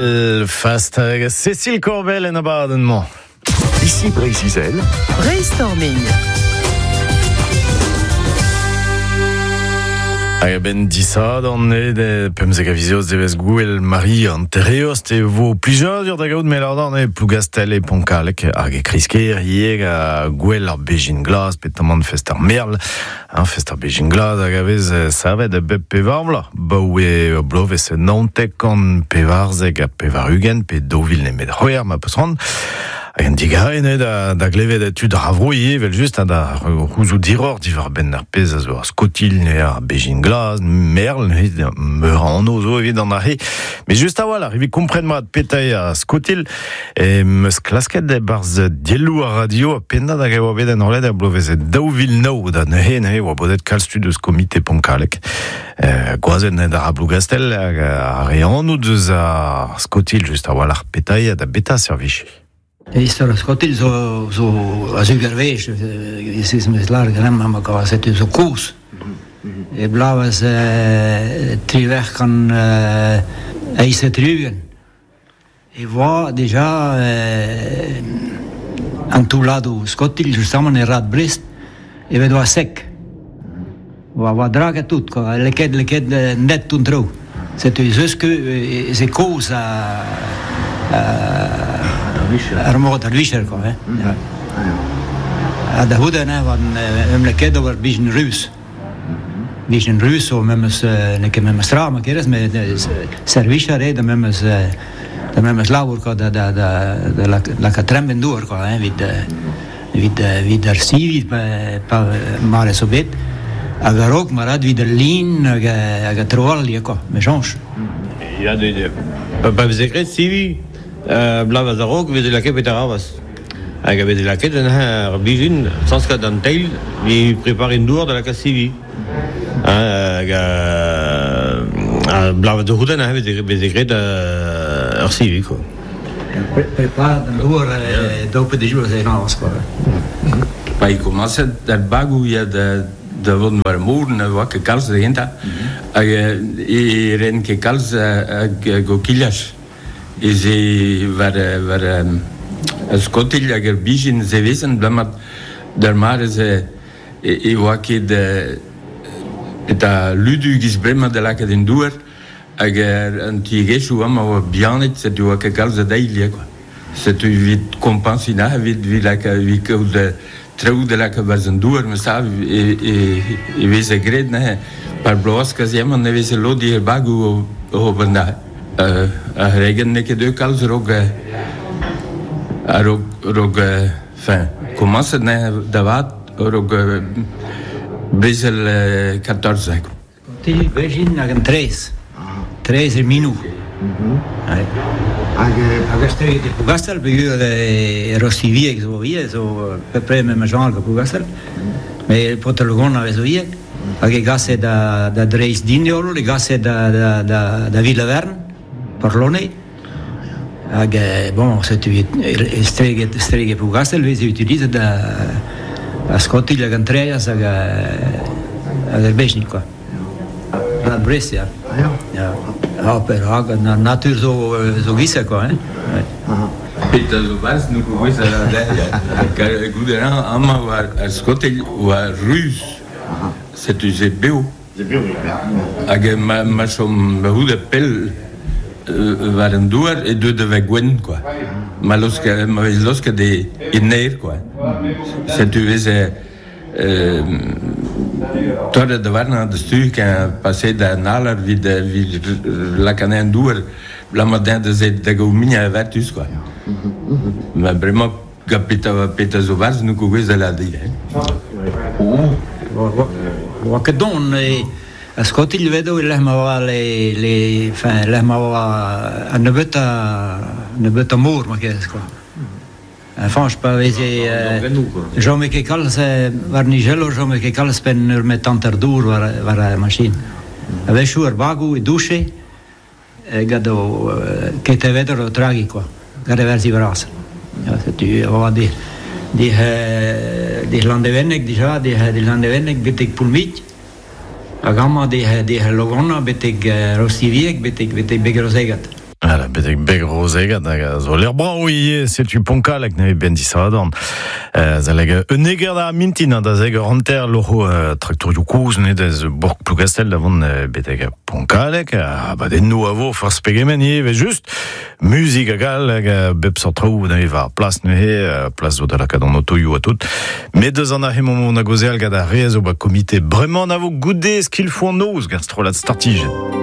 Belfast hag Cécile Corbel en abadenn-mañ. Ici Breizh-Izel. Brainstorming. Hag a-benn disadorn eo de 15 a viz Eost devezh gouel Marie an Tereost e vo plijadur da gaout Melardan e Plougastel e Pontkalek hag e Kreisker ivez ha gouel ar Bezhin Glas petamant fest ar Merl Ar fest ar bezhin glas hag a vez savet bep pevar vloaz, 'baoe ur bloavezh 99 ha 80 pe 2000 nemet c'hwec'h ma peus c'hoant. Hag an digarez eo da, da glevet tud ar vro ivez evel-just ha da c'houzout hiroc'h diwar-benn ar pezh a zo ar skotilh, ar bezhin glas, merl, meur a anv zo evit an ahe. Met just a-walc'h evit kompren mat petra eo ar skotilh Em eus klasket e-barzh dielloù ar radio ha pennad hag e oa bet enrollet er bloavezh 2009 da neuze neuze e oa bodet kalz tud eus komite Pontkalleg. Eh, gwazed da ra Plougastell hag ar re anv deus ar skotilh just a-walc'h petra eo da beta servij. Istor ar skotilh zo, zo a-zug ar wech, ez meus lâret ganeomp amañ kwa, setu zo kozh. E bloavezh 1878. E voa deja an toulladoù skotilh justamant e rad Brest evet oa sek. Oa oa draget tout quoi, lakaet lakaet net an traoù. Setu ez eus ket ez eo kozh ar mod ar vicher quoi hein. Ha da c'houde neuze em lakaet ober bijen ruz. Bijen ruz zo memes n'eo ket memes tra ma kerez met servij a rae da memes da memes labour quoi da da da da lakaat tremp en dour quoi hein evit evit evit ar sivi pa mare zo bet hag a-raok ma rat evit al lin hag hag an traoù all ivez quoi me soñj. Ya pa veze graet sivi bloavezh a-raok e veze lakaet beterabez. Hag a veze lakaet ar bizhin, sañskat an teil, evit prepariñ dour da lakaat sivi. Hag ar bloavezh da c'houde neuze veze graet ur sivi quoi. Preparat an dour daou pe dek vloaz e quoi. Pa eo komañset ar bagoù ya da vont war ar mor ne oa ket kalz da gentañ hag e ren ket kalz a gokilhaj. Ez eo war war ar skotilh hag ar bizhin sevezen abalamour d'ar mare-se e oa ket eta ludu giz bremañ da lakaat en douar hag an tiegezhioù amañ a oa bihanet setu oa ket kalz a deil kwa. Setu evit kompañsiñ neuze evit lakaat evit kaout traoù da lakaat 'barzh an douar ma sav e veze graet neuze par bloaz kazimant e veze lod er bagoù oc'h ober neuze. Ar c'hregenn n'eo ket deuet kalz a-raok a-raok a-raok enfin komañset neuze da vat a-raok brezel 14. Ti Bezhin hag an traezh. Traezh e Minou. Hag hag ar e Plougastel, peogwir e Rostivieg zo ivez, zo bepred memes genre que Plougastel. Mais paotr Logon a vez ivez. Hag e gase da, da dreist Dignol, e gase da, da, da, da Villavern, Porlone. Hag bon, setu estreget, estreget Plougastel veze utilizet da, da skotilh hag an traezh hag, hag ar bezhin quoi. Da Brest, ya. Ya. Ha perak, an natur zo, zo gisa quoi, hein. Petra zo 'barzh n'on ket gouest da lâret Goude amañ war ar skotilh oa ruz. Setu se bev. Hag ma, ma chom ma c'houde pell war an douar e deu da vezañ gwenn quoi. Ma laosk ma vez laosket e, e naer quoi. Setu veze torret da warnañ da stu ken paseet da an alar evit evit lakaat anezhañ en douar abalamour dezhañ da se da gaout muiañ a vertuz quoi. Ma bremañ gant petra petra zo 'barzh n'on ket gouest da lâret dit hein. Oa ket don e a skotilh vedo e lec'h ma oa le, le, enfin, lec'h ma oa an nebeutañ nebeutañ mor ma kerez quoi. Fañch pa veze chome ket kalz war nijello chome ket kalz penn ur metr hanter dour war war ar machin. A-wechoù ar bagoù e douche gant o ket evet o tragi quoi gant e verzi vras. Setu e oa di di di Landevenneg dija di di Landevenneg betek Poulmig hag amañ di di Logonna betek Rostivieg betek betek Beg-Rozegat. Voilà, betek beg rozegat hag a zo l'air brao ivez, setu Ponkalek ne ben disadorn. Zaleg un eger da mintin da zeg ur hanter loc'ho traktorioù kozh ne da Bourg Plougastel da vont betek Ponkalek, ha abadennoù a vo forzh pegement ivez just muzik hag all hag bep seurt traoù neuze war plas neuze, plas zo da lakaat an otoioù ha tout. Met deus an aze emaomp o gaozeal gant ar re a zo ba komite bremañ a vo goude skilfoù an noz gant strollad Startijenn.